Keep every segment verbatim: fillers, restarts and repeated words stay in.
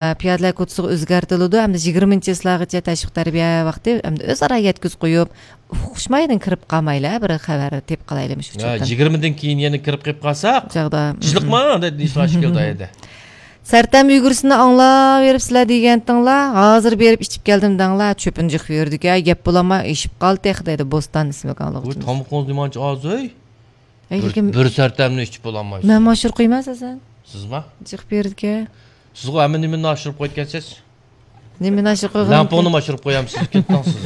پىيادىلەر كوچىسىغا ئۆزگەرتىلىدۇ ھەمدە يىگىرمىنچى چىسلاغىچە تەشۋىق تەربىيە ۋاقتى ھەمدە ئۆزئارا يەتكۈزۈپ قويۇپ، ئۇقۇشمايدىن كىرىپ قالمايلى، بىر خەۋەر تېپىپ قالايلى مۇشۇ ھە، ئۇچۇردىن. يىگىرمىدىن كېيىن يەنە كىرىپ قېلىپ قالساق، چاغدا. جىلىقما، دەيدۇ ئىشلار ئىكەن دايەدە. سەرتەم ئۆيگۈرسىنى ئاڭلاۋېرىپسىلەر دېگەنتىڭلار، ھازىر بېرىپ ئىچىپ كەلدىم دەڭلار، چۆپىنى جىق يۈرىدىكەن، گەپ بولالماي ئېشىپ قالدى تېخى دەيدۇ، بوستان ئىسىملىك ئۇ ئاڭلىغۇچىمىز. تامىقىڭىز نېمانچە ئاز، ئۆي؟ ئەي، بىر، لېكىن بىر سەرتەمنى ئىچىپ بولالمايسىز. مەن ماشۇر قويىمەن ئەساسەن. سىزما؟ جىق بېرىدىكەن. سىزغۇ ھەممە نېمىنى ئاشۇرۇپ قويىدىكەنسىز. نېمىنى ئاشۇرۇپ قويغان؟ لەڭپۇڭنى ئاشۇرۇپ قويامسىز، كېتىڭ سىز.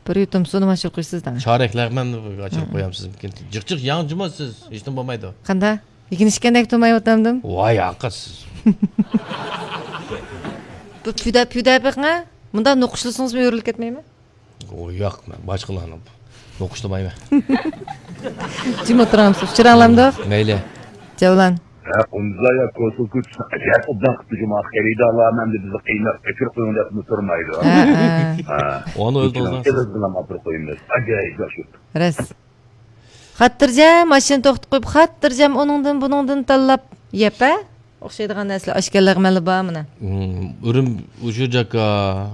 بىر يۇتۇم سۇنى ئاشۇرۇپ قويىسىز دەڭ. چارەك لەغمەننى ئاشۇرۇپ قويامسىز. جىق جىق يەڭ جۇمۇ سىز، ھېچنېمە بولمايدۇ. قانداق؟ يېكىنىشكەندەك تۇرمايۋاتامدىم. ۋاي ھاقا سىز. بۇ پۈدە، پۈدە بېقىڭە. مۇنداق نوقۇشلىسىڭىزمۇ يورۇلۇپ كەتمەيمۇ؟ ئۇ ياق، مەن باشقىلارنى نوقۇشلىمايمەن. جىم ئولتۇرامسىز؟ ئۇچۇراڭلامدۇق؟ مەيلى. جەۋلان. ھە، قۇندۇزاي يا كوسۇل كۈچ ئەجەب ئوبدان قىپتۇ جۇما. خېرىدارلار ئەمدى بىزنى قىيناپ ئەكىرىپ قويۇڭ دەپمۇ تۇرمايدۇ. ھە، ھە. ھە. ئۇنى ئۆزىڭىز ئېغىزدىن ئاپىرىپ قويىمىز. ئاجايىپ ياخشى. راست. خاتىرجەم ماشىنا توختىتىپ قويۇپ، خاتىرجەم ئۇنىڭدىن، بۇنىڭدىن تاللاپ يەپ، ھە؟ ئوخشايدىغان نەرسىلەر ئاشكەنلەرگە مەنلا بارمىنا. ئۇرۇم، ئۇشۇ جاكا،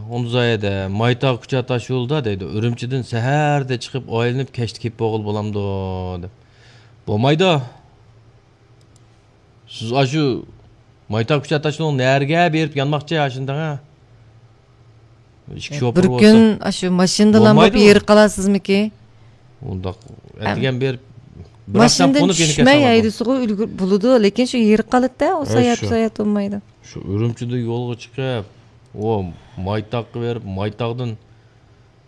ئۇندۇزايەدە، مايتاغ كۇچا تاش يولىدا دەيدۇ. ئۈرۈمچىدىن سەھەردە چىقىپ ئايلىنىپ كەچتە كېلىپ بولغىلى بولامدۇ دەپ. بولمايدۇ. سىز ئاشۇ مايتاغ كۇچا تاش يولىنىڭ نەرىگە بېرىپ يانماقچى ئاشۇنداق ھە؟ ئىككى شوپۇر بولسا. بىر كۈن ئاشۇ ماشىنىدىلا بولۇپ يېرىپ قالارسىزمىكى؟ ئۇنداق ئەتىگەن بېرىپ، بىر ئاخشام ماشىنىدىن قونۇپ يەنە چۈشمەي كەلسەڭ بولىدۇ. ھەيدىسىغۇ ئۈلگۈر بولىدۇ، لېكىن شۇ يېرىپ قالىدىدا، ئۇ ساياھەت، شۇ ساياھەت بولمايدۇ. شۇ ئۈرۈمچىدىن يولغا چىقىپ، ئۇ مايتاغقا بېرىپ، مايتاغدىن،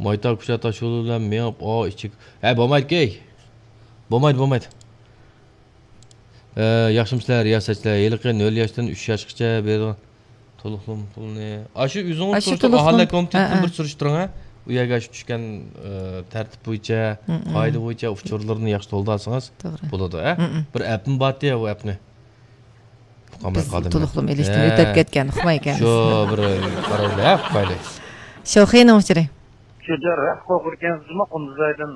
مايتاغ كۇچا تاش يولى بىلەن مېڭىپ، ئا، ئىچىگە، ھە، بولمايدىكەي. بولمايدۇ، بولمايدۇ. ئە، ياخشىمۇسىلەر رىياسەتچىلەر؟ ھېلىقى نۆل ياشتىن ئۈچ ياشقىچە بېرىدىغان تولۇقلىما پۇلىنى، ئاشۇ ئۆزىڭىز ئاشۇ تۇرسا، تولۇقلىما ئاھالە كومىتېتىدىن، ھە، بىر سۈرۈشتۈرۈڭ، ھە. ئۇ يەرگە ئاشۇ چۈشكەن، ئە، تەرتىپ بويىچە، مم، مم، قائىدە بويىچە ئۇچۇرلىرىنى ياخشى تولدۇرسىڭىز، توغرا، بولىدۇ، ھە. مم، مم. بىر ئەپمۇ بارتى، ئۇ ئەپنى. بىز تولۇقلىما ئېلىشتىن، ھە، ئۆتۈپ كەتكەن، ئۇقمايكەنمىز. شۇ بىر قارايلى، ھە، ئۇقايلى. شوخىنىڭ ئۇچۇرى. شۇ جەر راست قورقىدىكەنسىزمۇ قۇندۇزايدىن؟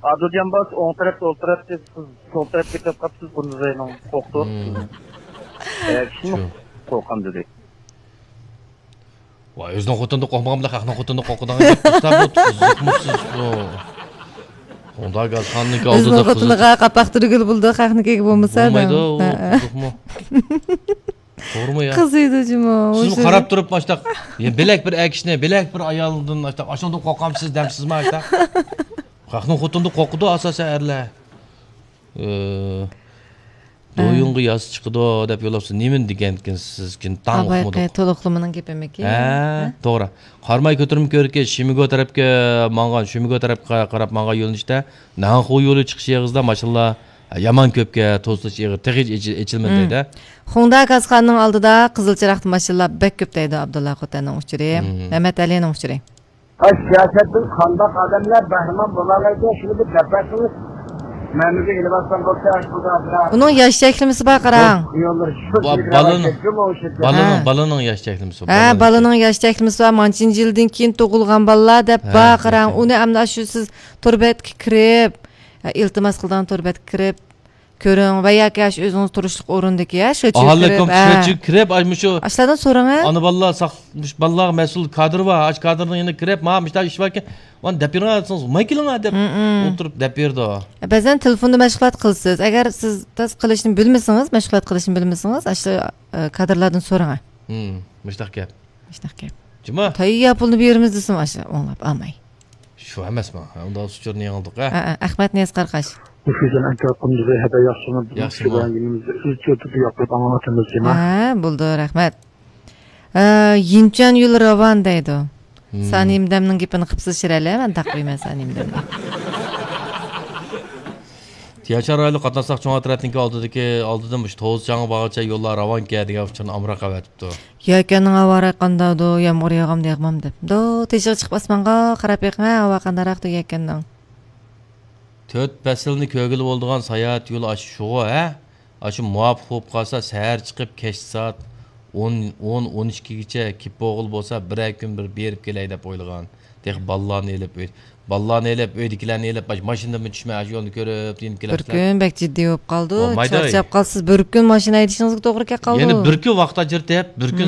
ئادىلجان باس ئوڭ تەرەپتە ئولتۇراتتى، سىز سول تەرەپكە كېتىپ قاپسىز، قۇندۇزاينىڭ قورقتۇرۇپ سىزنى. ھە، كىشىمۇ قورققان دېدى. ۋاي، ئۆزىنىڭ خوتۇنىدىن قورقمىغان بىلەن خەقنىڭ خوتۇنىدىن قورقىدىغان گەپ. ئۇستا بۇ تۇزۇقمۇ سىز بۇ؟ ئۇنداق گازخانىنىڭكى ئالدىدا ئۆزىنىڭ خوتۇنىغا قاپاق تۈرگىلى بولىدۇ، خەقنىڭكىگە بولمىسا. بولمايدۇ، ھە، ھە. تۇزۇقمۇ. توغرىمۇ يا؟ قىزىيدۇ جۇمۇ. سىزمۇ قاراپ تۇرۇپ ئاشتاق، يا بىلەك بىر ئەكىشنى، بىلەك بىر ئايالدىن ئاشتاق، ئاشۇنداق قورقامسىز دەمسىزما ئاشتاق؟ خەقنىڭ خوتۇنىدىن قورقىدۇ ئاساسەن ئەرلەر. ئى، ھە. دويۇڭغا ياسا چىقىدۇ دەپ يوللاپسىز. نېمىنى دېگەنكىنسىز، كىن تاڭ ئۇقمىدۇق. تولۇقلىمىنىڭ گېپىمىكى؟ ھە، ھە؟ توغرا. قاراماي كۆتۈرمە كۆۋرۈكى شىمىگو تەرەپكە ماڭغان، شىمىگو تەرەپكە قاراپ ماڭغان يۆنىلىشتە نەنخۇ يولى چىقىش ئېغىزىدا ماشىنىلار يامان كۆپكەن، توسۇلۇش ئېغىر، تېخىچە ئېچىلمىدى دەيدۇ. خۇڭدا كاسخانىنىڭ ئالدىدا قىزىل چىراغدا ماشىنىلار بەك كۆپ دەيدۇ ئابدۇللا خوتەننىڭ ئۇچۇرى. مەمەت ئەلىنىڭ ئۇچۇرى. سىياسەتتىن قانداق ئادەملەر بەھرىمەن بولالايدۇ، شۇنى بىر دەپ بەرسىڭىز. مەمىگە ئېلىۋاتسام بولسا، ئاشۇنداق بىر ئۇنىڭ ياش چەكلىمىسى بار، قاراڭ. با-، بالىنىڭ، بالىنىڭ، ھە. بالىنىڭ ياش چەكلىمىسى بار، ھە، بالىنىڭ ياش چەكلىمىسى بار، مانچىنچە يىلدىن كېيىن تۇغۇلغان بالىلار دەپ، ھە، بار، قاراڭ. ئۇنى ئەمدى شۇ سىز تور بەتكە كىرىپ، ھە، ئىلتىماس قىلىدىغان تور بەتكە كىرىپ، كۆرۈڭ ۋە ياكى ئاشۇ ئۆزىڭىز تۇرۇشلۇق ئورۇندىكى، ھە، شۇ ئاھالە كومىتېتىگە كىرىپ، ئاشۇ ئاشۇلارنى سورىڭ، ھە. ئانا بالىلار ساق-، مۇشۇ بالىلارغا مەسئۇل كادىر بار، ئاشۇ كادىرنىڭ يېنىغا كىرىپ، ما، مۇشۇنداق ئىش باركەن، مانا دەپ بېرىڭ دېسىڭىز، ماي كېلىڭ دەپ ئولتۇرۇپ دەپ بېرىدۇ. بەزەن تېلېفوندا مەشغۇلات قىلىسىز. ئەگەر سىز تاس قىلىشنى بىلمىسىڭىز، مەشغۇلات قىلىشنى بىلمىسىڭىز، ئاشۇ، ئە، كادىرلاردىن سورىڭ. مۇشۇنداق گەپ. مۇشۇنداق گەپ. جۇما. تەييار پۇلنى بېرىمىز دېسىمۇ، ئاشۇ ئوڭلاپ ئالماي. شۇ ئەمەسمۇ؟ ئۇنداق ئۇچۇرنى يېڭىلدۇق، ھە؟ ئە، ئە، ئەخمەت نىياز قاراقاش. مۇشۇ يۈزدىن ئەنكەر قۇندۇزى ھەدە ياخشىمۇ؟ ياخشىمۇ؟ مۇشۇ بايان يېنىمىزدا ئۆزىچە ئۆتۈپ ياقىپ ئاڭلىۋاتىمىز، جۇما. ھە، بولدى، رەھمەت. ئە، يىنچۈەن يولى راۋان دەيدۇ. سانىيىم دەمنىڭ گېپىنى قىپسىز شىرەلە، مەن تاقىۋېمەن سانىيىم دەمنى. تيەنشان رايونلۇق قاتناشساق چوڭ ئەترەتنىڭكى ئالدىدىكى، ئالدىدىن مۇشۇ توۋۇز چاڭغا بارغىچە يوللار راۋانكەن دېگەن ئۇچۇرنى ئامراق ئەۋەتىپتۇ. يەكەننىڭ ھاۋا رايى قانداقدۇ؟ يامغۇر ياغامدۇ، ياغمامدۇ؟ دو، تېشىغا چىقىپ ئاسمانغا قاراپ بېقىڭە، ھاۋا قانداقراقتۇ يەكەننىڭ؟ تۆت پەسىلنى كۆرگىلى بولىدىغان ساياھەت يولى ئاشۇ شۇغۇ، ھە؟ ئاشۇ مۇۋاپىق بولۇپ قالسا، سەھەر چىقىپ، كەچتە سائەت ئون، ئون، ئون ئىككىگىچە كېلىپ بولغىلى بولسا، بىرەر كۈن بىر بېرىپ كېلەي دەپ ئويلىغان. تېخى بالىلارنى ئېلىپ، ئۆي، بالىلارنى ئېلىپ، ئۆيدىكىلەرنى ئېلىپ، ماش-، ماشىنىدىنمۇ چۈشمەي، ئاشۇ يولنى كۆرۈپ، يېنىپ بىر كېلەمسىلەر. كۈن بەك جىددىي بولۇپ قالىدۇ، بولمايدۇ. چارچاپ قالىسىز، بىر كۈن ماشىنا ھەيدىشىڭىزگە توغرا كېلىپ قالىدۇ. يەنە بىر كۈن ۋاقىت ئاجرىتىپ، بىر كۈن